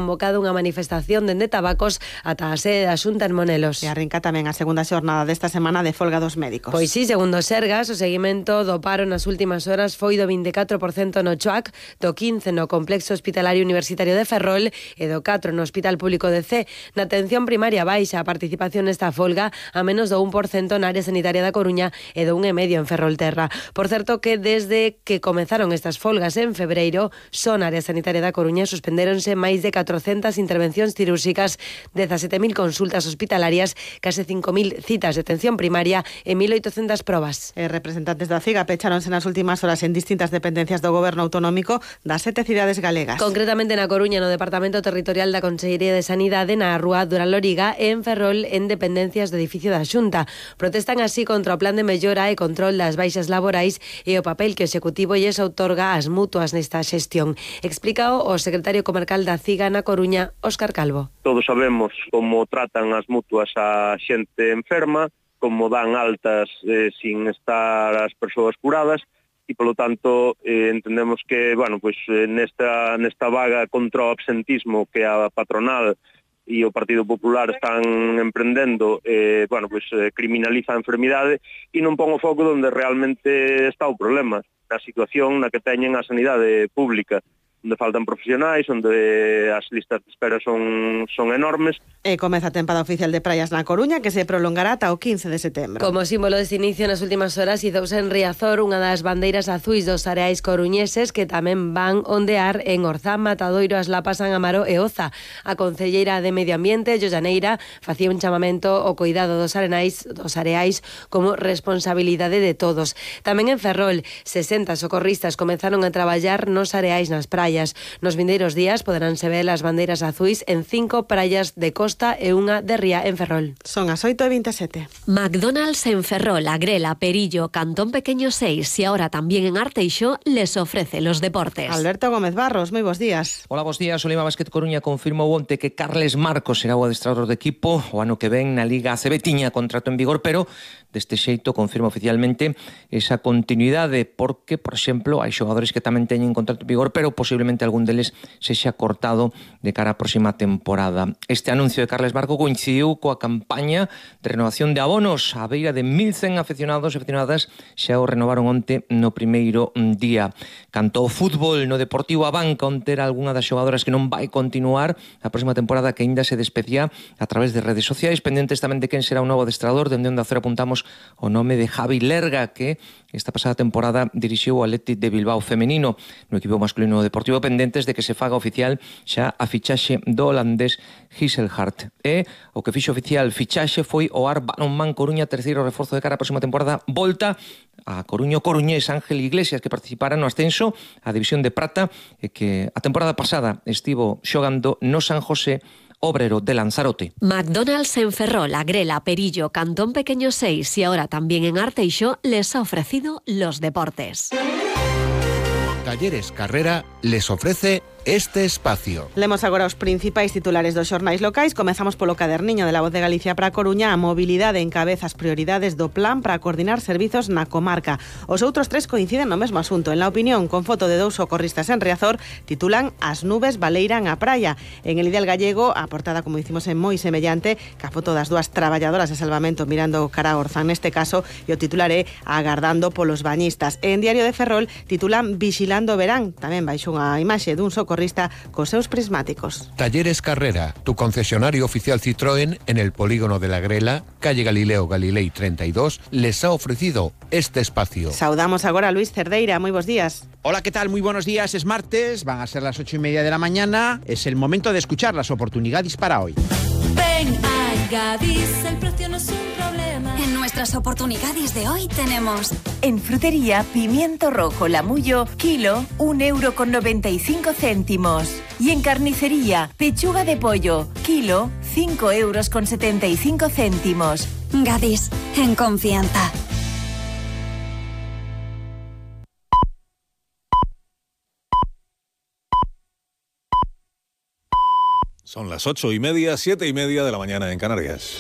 convocado unha manifestación dende Tabacos ata a sede da Xunta en Monelos. E arrinca tamén a segunda xornada desta semana de folga dos médicos. Pois sí, segundo Sergas, o seguimento do paro nas últimas horas foi do 24% no CHOAC, do 15% no Complexo Hospitalario Universitario de Ferrol e do 4% no Hospital Público de C. Na atención primaria baixa a participación nesta folga a menos do 1% na área sanitaria da Coruña e do 1,5% en Ferrolterra. Por certo que desde que comenzaron estas folgas en febreiro, só na área sanitaria da Coruña suspendéronse máis de 400 intervencións cirúrxicas, 17.000 consultas hospitalarias, case 5.000 citas de atención primaria e 1.800 probas. Representantes da CIGA pecháronse nas últimas horas en distintas dependencias do Goberno autonómico das 7 cidades galegas. Concretamente na Coruña, no Departamento Territorial da Consellería de Sanidade, na Rúa Durán Loriga e en Ferrol, en dependencias do edificio da Xunta. Protestan así contra o plan de mellora e control das baixas laborais e o papel que o Executivo lles outorga ás mutuas nesta xestión. Explícao o secretario comarcal da CIGA na Coruña, Óscar Calvo. Todos sabemos como tratan as mutuas a xente enferma, como dan altas sin estar as persoas curadas, e polo tanto entendemos que, nesta vaga contra o absentismo que a patronal e o Partido Popular están emprendendo, criminaliza a enfermidade e non pon o foco onde realmente está o problema, na situación na que teñen a sanidade pública, onde faltan profesionais, onde as listas de espera son enormes. E comeza a tempada oficial de praias na Coruña, que se prolongará ata o 15 de setembro. Como símbolo deste inicio, nas últimas horas izouse en Riazor unha das bandeiras azuis dos areais coruñeses que tamén van ondear en Orzán, Matadoiro, As Lapas, San Amaro e Oza. A concelleira de Medio Ambiente, Jollaneira, facía un chamamento ao cuidado dos areais como responsabilidade de todos. Tamén en Ferrol, 60 socorristas comenzaron a traballar nos areais nas praias. Nos vindeiros días poderánse ver as bandeiras azuis en 5 praias de Costa e unha de Ría en Ferrol. Son as 8:27. McDonald's en Ferrol, Agrela, Perillo, Cantón Pequeño 6 y ahora también en Arteixo les ofrece los deportes. Alberto Gómez Barros, moi bons días. Hola, bons días. O Lima Basket Coruña confirmou onte que Carles Marcos será o adestrador do equipo o ano que ven na Liga ACB. Tiña contrato en vigor, pero deste xeito confirma oficialmente esa continuidade porque, por exemplo, hai xogadores que tamén teñen contrato en vigor, pero posiblemente algún deles sexa cortado de cara á próxima temporada. Este anuncio de Carles Marcos coincidiu coa campaña de renovación de abonos. A beira de 1.100 afeccionados e afeccionadas xa o renovaron onte no primeiro día. Canto o fútbol no Deportivo a banca onte era algunha das xogadoras que non vai continuar a próxima temporada, que aínda se despedía a través de redes sociais, pendentes tamén de quen será o novo adestrador. Dende Onda Cero apuntamos o nome de Javi Lerga, que esta pasada temporada dirixiu o Athletic de Bilbao femenino. No equipo masculino Deportivo, pendentes de que se faga oficial xa a fichaxe do holandés Gisselhart. E o que fixo oficial fichaxe foi o Ar Balonmán Coruña, terceiro reforzo de cara a próxima temporada. Volta a Coruño Coruñés Ángel Iglesias, que participara no ascenso a División de Prata e que a temporada pasada estivo xogando no San José Obrero de Lanzarote. McDonald's en Ferrol, Agrela, Perillo, Cantón Pequeño 6 y ahora también en Arteixo les ha ofrecido los deportes. Talleres Carrera les ofrece este espacio. Lemos agora os principais titulares dos xornais locais. Comezamos polo caderniño de La Voz de Galicia para a Coruña. A mobilidade encabeza as prioridades do plan para coordinar servizos na comarca. Os outros tres coinciden no mesmo asunto. En La Opinión, con foto de 2 socorristas en Riazor, titulan As nubes baleiran a praia. En El Ideal Gallego, a portada, como dicimos, é moi semellante ca foto das dúas traballadoras de salvamento mirando cara a Orzán neste caso, e o titular é Agardando polos bañistas. E en Diario de Ferrol titulan Vigilando o verán, tamén baixo unha imaxe dun socorrista cos seus prismáticos. Talleres Carrera, tu concesionario oficial Citroën en el polígono de la Grela, calle Galileo Galilei 32, les ha ofrecido este espacio. Saudamos agora a Luis Cerdeira, moi bons días. Hola, ¿qué tal? Muy buenos días, es martes, van a ser las 8:30 de la mañana, es el momento de escuchar las oportunidades para hoy. Ven a Gadis, el precio no es un problema. En nuestras oportunidades de hoy tenemos en frutería pimiento rojo Lamullo, kilo, 1,95 €. Y en carnicería, pechuga de pollo, kilo, 5,75 €. Gadis, en confianza. Son las 8:30, 7:30 de la mañana en Canarias.